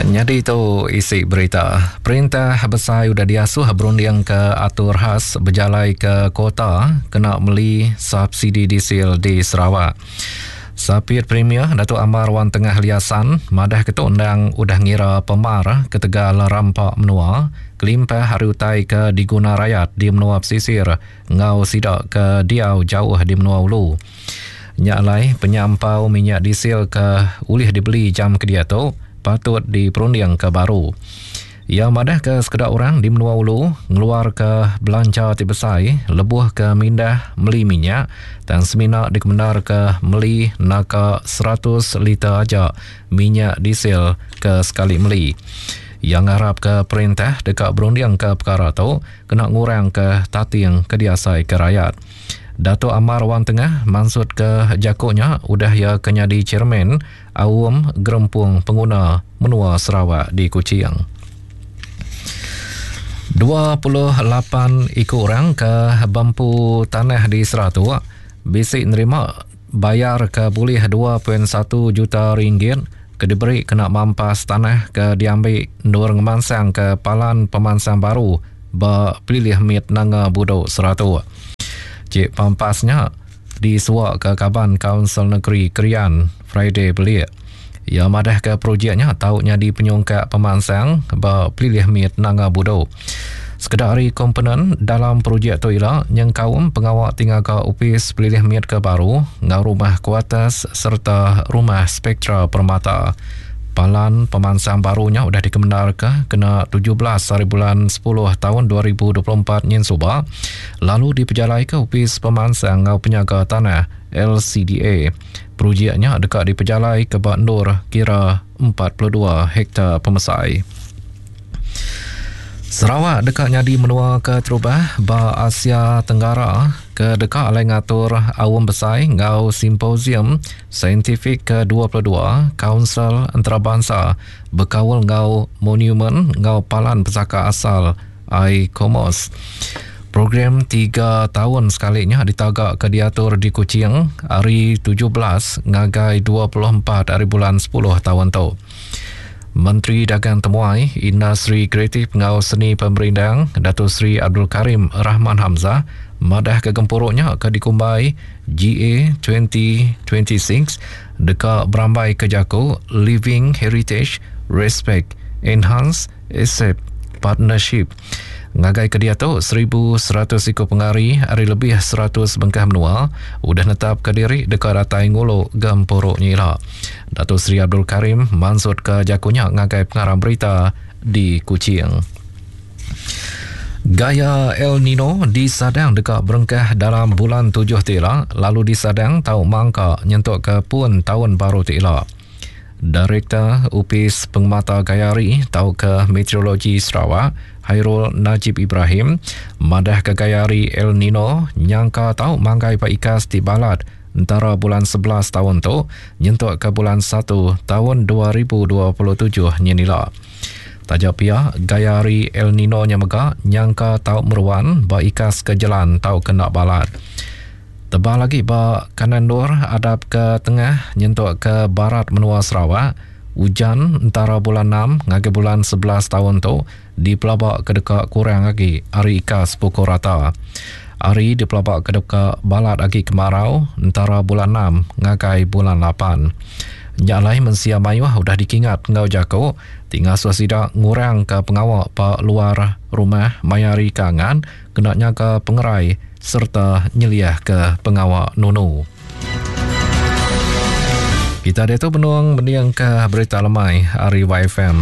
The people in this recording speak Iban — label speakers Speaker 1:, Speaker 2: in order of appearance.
Speaker 1: Nyadi tu isi berita. Perintah besai udah diasuh berundingka atur khas bejalaika kuota kena meli subsidi diesel di Sarawak. Sapit Premier Datuk Amar Wan Tengah Liasan madah ke tu endang udah ngira pemar ketegal rampa menua kelimpah ari utai ke diguna rayat di menua pesisir enggau sida ke diau jauh di menua ulu. Nya alai penyampau minyak diesel ke ulih dibeli jam ke diatu patut diperundingka baru. Iya madahka sekeda orang di menua ulu ngeluarka belanja ti besai lebuh ke mindah meli minyak tang semina dikemendarka meli naka 100 liter aja minyak diesel ke sekali meli. Iya ngarapka perintah deka berundingka pekara tu kena ngurangka tating ke diasaika rayat. Datuk Amar Wang Tengah mansutka jaku nya udah iya ke nyadi chairman Aum Gerempung Penguna Menua Sarawak di Kuching. 28 iku orang ke bempu tanah di Seratok bisi nerima bayar ke bulih 2.1 juta ringgit ke diberi kena mampas tanah ke diambi endur ngemansangka palan pemansang baru ba pelilih mit Nanga Budok Seratok. Cik pampas nya disuaka kaban Kaunsil Negeri Krian, Friday Belik. Iya madahka projek nya tau nyadi penyungkak pemansang ba pelilih mit Nanga Budok. Sekeda ari komponen dalam projek tu ila nyengkaum pengawa ti ngaga opis pelilih mit ke baru enggau rumah kuarters sereta rumah Spektra Permata. Palan pemansang baru nya udah dikemendarka kena 17 hari bulan 10 taun 2024 nyin suba lalu dipejalaika Opis Pemansang enggau Penyaga Tanah, LCDA. Projek nya deka dipejalaika ba endur kira 42 hektar pemesai. Sarawak deka nyadi menua keterubah ba Asia Tenggara ke deka alai ngatur aum besai enggau simposium saintifik ke 22 Kaunsil Entarabansa bekaul enggau Monumen enggau Palan Pesaka Asal ICOMOS. Program tiga taun sekali nya ditagaka diatur di Kuching ari 17 ngagai 24 ari bulan 10 taun tu. Menteri Dagang Temuai, Industri Kreatif enggau Seni Pemerindang, Dato Sri Abdul Karim Rahman Hamzah madahka gempuru nya ke dikumbai GA 2026 deka berambaika jaku Living Heritage, Respect, Enhance, Accept, Partnership. Ngagai ke diatu, 1,100 iku pengari ari lebih 100 bengkah menua udah netapka diri deka datai ngulu gempuru nya ila. Dato Sri Abdul Karim mansutka jaku nya ngagai pengarang berita di Kuching. Gaya El Nino disadang deka berengkah dalam bulan tujuh ti ila lalu disadang tau mangka nyentuk ke pun taun baru ti ila. Direktor Opis Pengemata Gaya Hari tauka Meteorologi Sarawak, Hairul Najib Ibrahim, madahka gaya hari El Nino nyangka tau manggai ba ikas ti balat entara bulan 11 taun tu nyentuk ke bulan 1 taun 2027 nyin ila. Taja pia, gaya hari El Nino nya mega nyangka tau meruan ba ikas ke jelan tauka enda balat. Tebal agi ba kanan endur adap ke tengah nyentuk ke barat menua Sarawak, ujan entara bulan enam ngagai bulan 11 taun tu dipelaba ke deka kurang agi ari ikas pukul rata. Hari dipelaba ke deka balat agi kemarau entara bulan enam ngagai bulan lapan. Nya alai mensia mayuh udah dikingat enggau jaku ti ngasuh sida ngurangka pengawa ba luar rumah maya hari ke angat kena nyaga pengerai sereta nyeliahka pengawa nunu. Kita diatu benung mendingka berita lemai ari YFM.